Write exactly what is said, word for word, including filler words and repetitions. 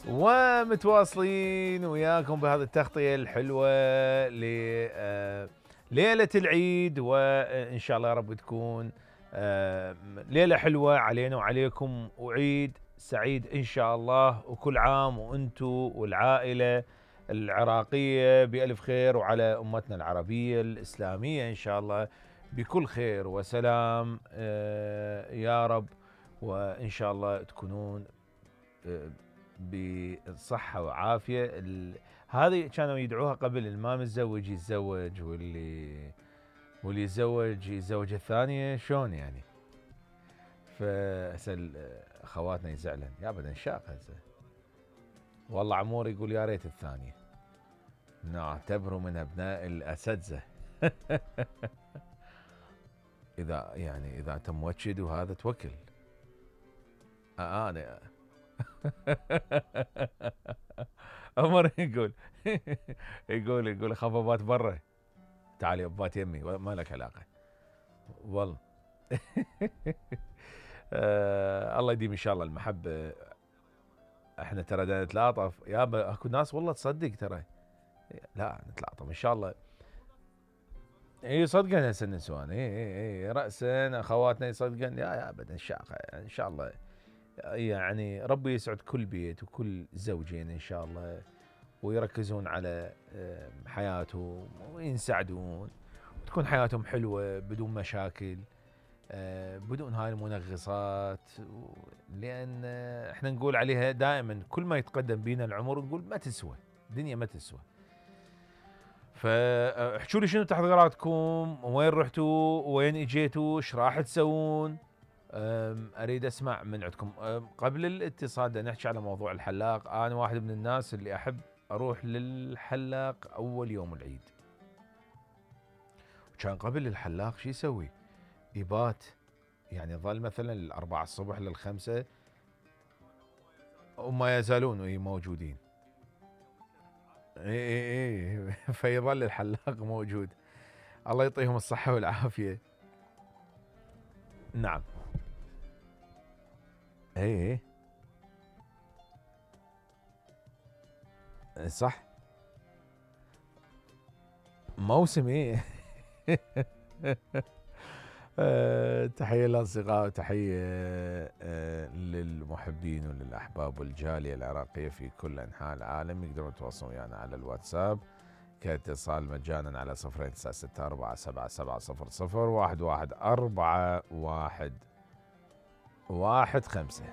ومتواصلين وياكم بهذه التغطية الحلوة لليلة العيد، وإن شاء الله يا رب تكون ليلة حلوة علينا وعليكم، وعيد سعيد إن شاء الله، وكل عام وأنتم والعائلة العراقية بألف خير، وعلى أمتنا العربية الإسلامية إن شاء الله بكل خير وسلام يا رب، وإن شاء الله تكونون بصحة وعافية. هذه كانوا يدعوها قبل، الما متزوج يتزوج، واللي واللي يتزوج يتزوج الثانية، شلون يعني؟ فهسه اخواتنا يزعلن يا ابدا شاق هسه. والله عمور يقول يا ريت الثانية، نعتبره من ابناء الاساتذة. اذا يعني اذا انت موكد وهذا توكل. آه انا عمر يقول يقول يقول اخاف ابات برا، تعالي ابات يمي ما لك علاقه والله. آه الله يديم ان شاء الله المحبه. احنا ترى نتلاطف يابا، اكو ناس والله تصدق ترى لا نتلاطف ان شاء الله. اي صدقا هسه النسوان اي اي اي راسا اخواتنا يصدقن يا يا ابدا الشاقه ان شاء الله. يعني ربي يسعد كل بيت وكل زوجين ان شاء الله، ويركزون على حياتهم وينسعدون، وتكون حياتهم حلوة بدون مشاكل، بدون هاي المنغصات. لأن احنا نقول عليها دائما كل ما يتقدم بينا العمر نقول ما تسوى الدنيا، ما تسوى. فاحكوا لي شنو تحضيراتكم، وين رحتوا وين اجيتوا، ايش راح تسوون؟ اريد اسمع من عندكم. قبل الاتصال بدنا نحكي على موضوع الحلاق. انا واحد من الناس اللي احب اروح للحلاق اول يوم العيد. وكان قبل الحلاق شو يسوي؟ يبات، يعني ظل مثلا الاربعة الصبح للخمسة وما يزالون موجودين. اي اي اي فيظل الحلاق موجود. الله يعطيهم الصحة والعافية. نعم. اي اي صح، موسم ايه. أه تحية للأصدقاء، وتحية أه للمحبين وللأحباب والجالية العراقية في كل أنحاء العالم. يقدرون يتواصلون ويانا على الواتساب كاتصال مجانا على صفرين تسعة ستة أربعة سبعة سبعة صفر صفر واحد واحد أربعة واحد واحد خمسة.